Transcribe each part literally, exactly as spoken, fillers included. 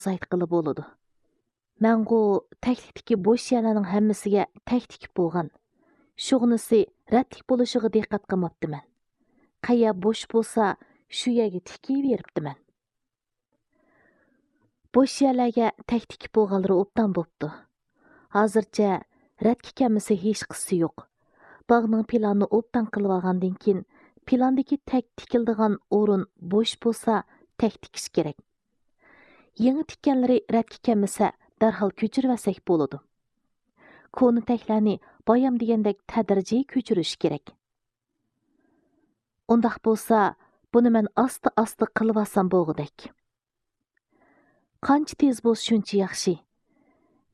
ئازايتقىلى بولىدۇ. مەنغۇ تەكلىكتىكى بوش يەرلەرنىڭ ھەممىسىگە تەك تىكىپ بولغان. شۇغىنىسى رەتلىك بولۇشىغا دىققەت قىلماپتىمەن. قەيەر بوش بولسا، شۇ يەرگە تىكىۋېرىپتىمەن. بوش يەرلەرگە تەك تىكىپ بولغانلىرى ئوبدان بوپتۇ. ھازىرچە رەتكە كەلمىسە ھېچقىسى يوق. باغنىڭ پىلانىنى ئوبدان قىلىۋالغاندىن كېيىن، پىلاندىكى تەك تىكىلىدىغان ئورۇن بوش بولسا، تەك تىكىش كېرەك. يېڭى تىككەنلىرى رەتكە كەلمىسە، دەرھال كۆچۈرۈۋەتسەك بولىدۇ. كونا تەكلەرنى بايام دېگەندەك تەدرىجىي كۆچۈرۈش كېرەك. ئۇنداق بولسا، بۇنى مەن ئاستا-ئاستا قىلىۋالسام بولغۇدەك. قانچە تېز بولسا، شۇنچە ياخشى.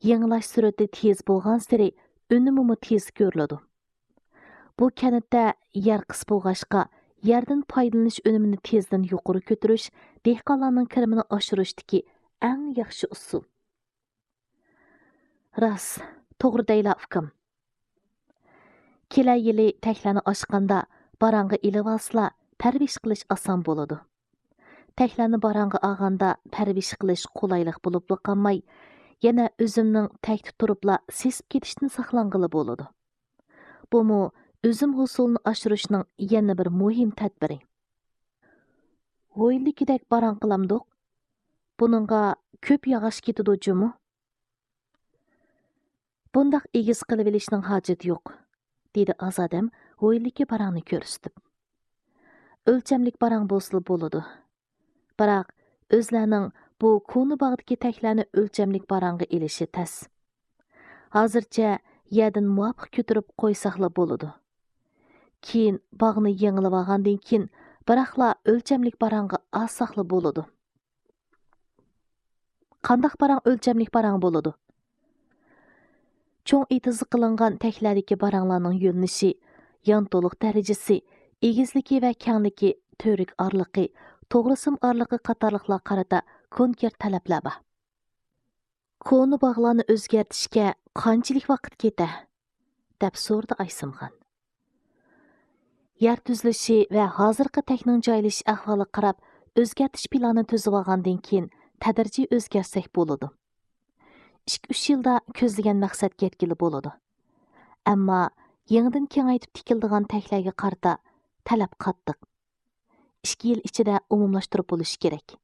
يېڭىلاش سۈرئىتى تېز بولغانسېرى، ئۈنۈمىمۇ تېز كۆرۈلىدۇ. بۇ كەنتتە يەر قىس بولغاچقا، يەردىن پايدىلىنىش ئۈنۈمىنى تېزدىن يۇقىرى كۆتۈرۈش دېھقانلارنىڭ كىرىمىنى ئاشۇرۇشتىكى ئەڭ ياخشى ئۇسۇل. راست، توغرا دەيلا، ئۇكام. كېلەر يىلى تەكلەرنى ئاچقاندا، باراڭغا ئېلىۋالسىلا، پەرۋىش قىلىش ئاسان بولىدۇ. تەكلەرنى باراڭغا ئالغاندا، پەرۋىش قىلىش قولايلىق بولۇپلا قالماي، يەنە ئۆزۈمنىڭ تەكتە تۇرۇپلا سېسىپ كېتىشتىن ساقلانغىلى بولىدۇ. بۇمۇ ئۈزۈم ھوسۇلىنى ئاشۇرۇشنىڭ يەنە بىر مۇھىم تەدبىرى. ھويلىدىكىدەك باراڭ قىلامدۇق؟ بۇنىڭغا كۆپ ياغاچ كېتىدۇ جۇمۇ. بۇنداق ئېگىز قىلىۋېلىشنىڭ ھاجىتى يوق، دېدى ئازادەم ھويلىدىكى باراڭنى كۆرسىتىپ. ئۆلچەملىك باراڭ بولسىلا بولىدۇ. بىراق، ئۆزلەرنىڭ بۇ كونا باغدىكى تەكلەرنى ئۆلچەملىك باراڭغا ئېلىشى تەس. ھازىرچە يەردىن مۇۋاپىق كۆتۈرۈپ قويساقلا بولىدۇ. كېيىن باغنى يېڭىلىۋالغاندىن كېيىن، بىراقلا ئۆلچەملىك باراڭغا ئالساقلا بولىدۇ. قانداق باراڭ ئۆلچەملىك باراڭ بولىدۇ؟ چوڭ ئېتىزغا قىلىنغان تەكلەردىكى باراڭلارنىڭ يۆنىلىشى، يانتۇلۇق دەرىجىسى، ئېگىزلىكى ۋە كەڭلىكى، تۈۋرۈك ئارىلىقى، توغرىسىم ئارىلىقى قاتارلىقلارغا قارىتا كونكرېت تەلەپلەر بار. كونا باغلارنى ئۆزگەرتىشكە قانچىلىك ۋاقىت كېتە؟ دەپ سورىدى ئايسىمخان. يەر تۈزۈلۈشى ۋە ھازىرقى تەكنىڭ جايلىشىش ئەھۋالىغا قاراپ، ئۆزگەرتىش پىلانى تۈزۈۋالغاندىن كېيىن، تەدرىجىي ئۆزگەرتسەك بولىدۇ. ئىككى-ئۈچ يىلدا كۆزلىگەن مەقسەتكە يەتكىلى بولىدۇ. ئەمما يېڭىدىن كېڭەيتىپ تىكىلىدىغان تەكلەرگە قارىتا تەلەپ قاتتىق. ئىككى يىل ئىچىدە ئومۇملاشتۇرۇپ بولۇشى كېرەك.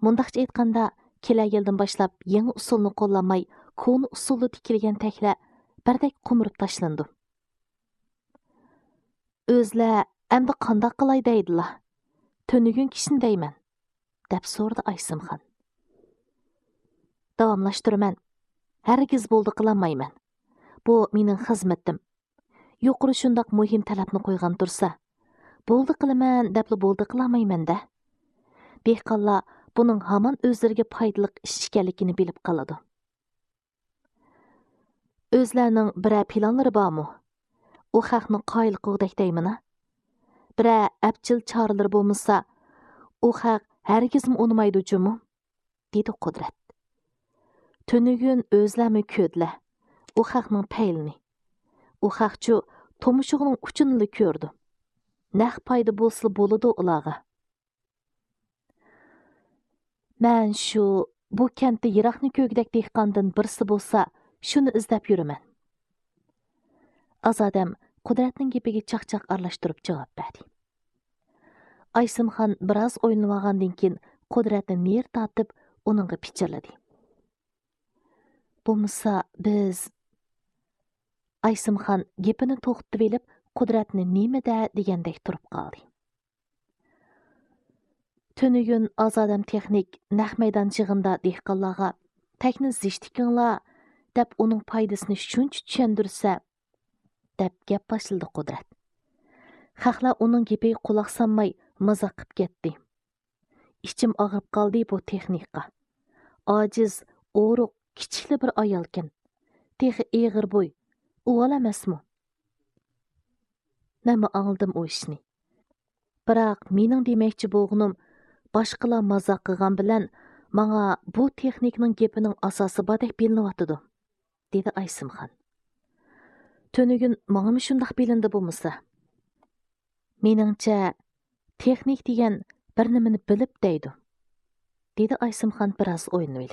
مۇنداقچە ئېيتقاندا، كېلەر يىلدىن باشلاپ يېڭى ئۇسۇلنى قوللانماي، كونا ئۇسۇلدا تىكىلگەن تەكلەر بىردەك قومۇرۇپ تاشلىنىدۇ. ئۆزلەر ئەمدى قانداق قىلاي دەيدىلا؟ تۈنۈگۈن كىشىنى دەيمەن، دەپ سورىدى ئايسىمخان. داۋاملاشتۇرىمەن. ھەرگىز بولدى قىلالمايمەن. بۇ مېنىڭ خىزمىتىم. يۇقىرى شۇنداق مۇھىم تەلەپنى قويغان تۇرسا، بولدى قىلىمەن دەپلا بولدى قىلالمايمەن-دە. دېھقانلار بۇنىڭ ھامان ئۆزلىرىگە پايدىلىق ئىش ئىكەنلىكىنى بىلىپ قالىدۇ. ئۆزلەرنىڭ بىرەر پىلانلىرى بارمۇ؟ ئۇ خەقنى قايىل قىلغۇدەك دەيمىنا؟ بىرەر ئەپچىل چارىلىرى بولمىسا، ئۇ خەق ھەرگىزمۇ ئۇنىمايدۇ جۇمۇ، دېدى قۇدرەت. تۈنۈگۈن ئۆزلەرمۇ كۆردىلە ئۇ خەقنىڭ پەيلىنى. ئۇ خەقچۇ تۇمشۇغىنىڭ ئۇچىنىلا كۆرىدۇ. نەق پايدا بولسىلا بولىدۇ ئۇلارغا. مەن شۇ، بۇ كەنتتە يىراقنى كۆرگۈدەك دېھقاندىن بىرسى بولسا، شۇنى ئىزدەپ يۈرىمەن. ئازادەم قۇدرەتنىڭ گېپىگە چاقچاق ئارىلاشتۇرۇپ جاۋاب بەردى. ئايسىمخان بىراز ئويلىنىۋالغاندىن كېيىن، قۇدرەتنى نېرى تارتىپ، ئۇنىڭغا پىچىرلىدى. بولمىسا، بىز. ئايسىمخان گېپىنى توختىتىۋېلىپ، قۇدرەتنى نېمە دە دېگەندەك تۇرۇپ قالدى. تۈنۈگۈن ئازادەم تېخنىك نەق مەيدان چېغىندا دېھقانلارغا، «تەكنى زىچ تىكىڭلار» دەپ، ئۇنىڭ پايدىسىنى شۇنچە چۈشەندۈرسە، دەپ گەپ باشلىدى قۇدرەت. خەقلەر ئۇنىڭ گېپىگە قۇلاق سالماي، مازاق قىپ كەتتى. ئىچىم ئاغرىپ قالدى بۇ تېخنىكقا. ئاجىز، ئورۇق، كىچىكلا بىر ئايالكەن. تېخى ئېغىر بوي، ئۇۋال ئەمەسمۇ؟ مەنمۇ ئاڭلىدىم ئۇ ئىشنى. بىراق مېنىڭ دېمەكچى بولغىنىم، باشقىلار مازاق قىلغان بىلەن ماڭا بۇ تېخنىكنىڭ گېپىنىڭ ئاساسى باردەك بىلىنىۋاتىدۇ، دېدى ئايسىمخان. تۈنۈگۈن ماڭىمۇ شۇنداق بىلىندى بولمىسا. مېنىڭچە، تېخنىك دېگەن بىر نېمىنى بىلىپ دەيدۇ، دېدى ئايسىمخان بىراز ئويلىنىۋېلىپ.